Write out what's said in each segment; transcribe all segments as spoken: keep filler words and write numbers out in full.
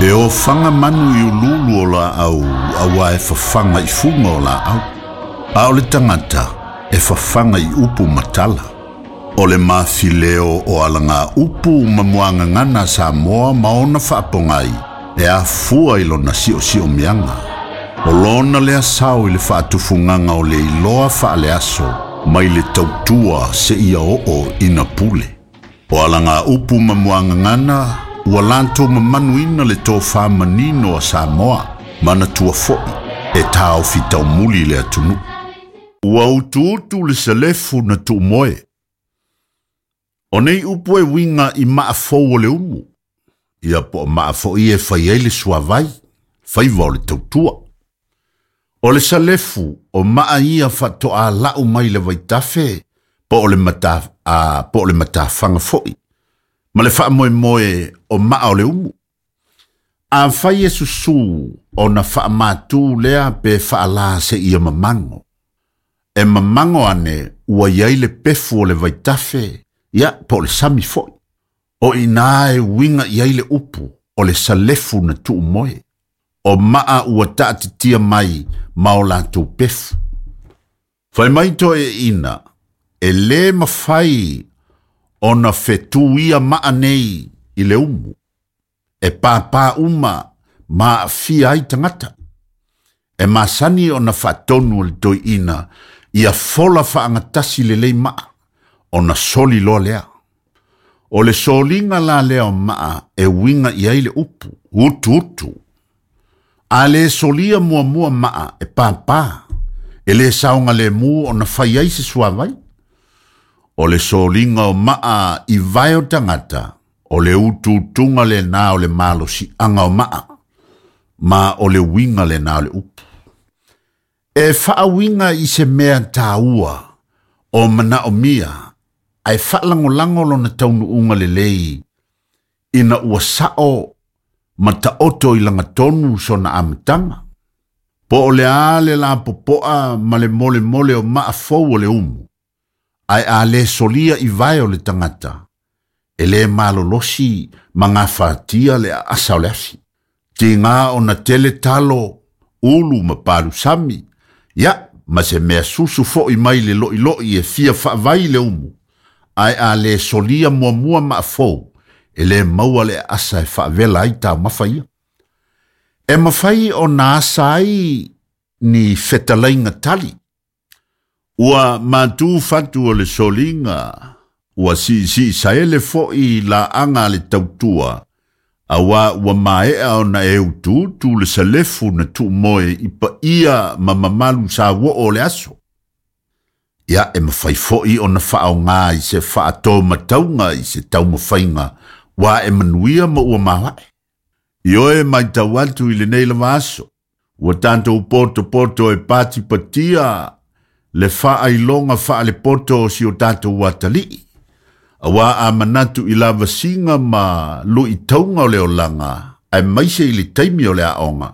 E o whanga manu i ululu o la au, awa e whawhanga i funga o la au. A o le tangata e whawhanga i upu matala. O le mawhileo o alanga upu mamuanga ngana sa moa maona whaapongai e a fua i lona sio sio mianga. O lona lea sao i le whaatufunganga o le iloa whaale aso mai le tautua se ia oo ina pule. O alanga upu mamuanga ngana ua lanto mamanuina le tō manino a Samoa, mana tua foi, e tāo fitau muli le atunu. Ua utu utu le selefu na tuumoe. O nei upu e winga i maafou o le umu. Ia po maafo i e fai ai le suavai, faiva o le tautua. O le salefu o maa ia whatoa lau mai le vaitafe, po o le mata, a, po o le matawhanga foi. Ma le wha moe o maa o le umu. A whai e susu o na wha mātū lea pe whaala se ia mamango. E mamango ane ua iai le pefu o le vaitafe, ia po o le sami foi. O ina e winga iai le upu o le salefu na tuu moe. O maa ua taatitia mai ma o lātou pefu. Whai mai to e ina, e le mawhai o na whetū ia maa nei i le umu. E pāpā uma ma fia ai tangata. E masani o na whatonu o le toi ina ia fola whaangatasi le lei maa o na soli loa lea. O le solinga la lea o maa e winga i ai le upu, utu utu. A le solia mua mua maa e pāpā, e le saonga le mu o na whai ai se suavai. O le solinga o maa i vai o tangata, o le ututunga le nā o le malosi anga o maa, ma o le winga le nā o le upu. E whaawinga i se mea tāua o mana o mia, ai whaalangolango lona taunu unga le lei, ina ua sao ma taoto i langatonu sona amatanga. Po o le ale la popoa ma le mole mole o maa fou o le umu, ai a le solia i vai o le tangata, e le malolosi ma ngā whaatia le asa o le afi. Ti ngā o na tele talo, ulu ma palusami, ia, ma se mea susu foi mai le loi loi e fia whaavai le umu, ai a le solia mua mua maa fou, e le maua le asa e whaavela ai tā mawhaia. E mawhai o nā asa ai ni whetalainga tali. Ua mātū whatu o le solinga, ua si si saele foi la anga le tautua, awa ua maea o na e utuutu le salefu na tuumoe i pa ia ma mamalu sa wo o le aso. Ia e mawhai foi o na whaao ngā i se whaatō mataunga i se taumawhainga, wa e manuia ma ua mawae. I oe mai tau atu i le nei lava aso, ua tātou poto poto e pati patia, le whaailonga wha le poto o si o tātou watalii. Awa a manatu i lava singa ma lui taunga o le olanga, ai maise i le taimi o le aonga.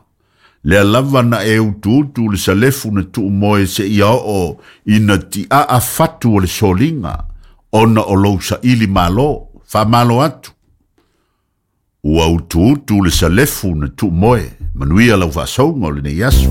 Lea lava na e utu utu le salefu na tuumoe se ia o ina ti a a fatu o le solinga, ona o lou sa ili malo, wha malo atu. Ua utu utu le salefu na tuumoe, manuia lau whaasonga o le nei aso.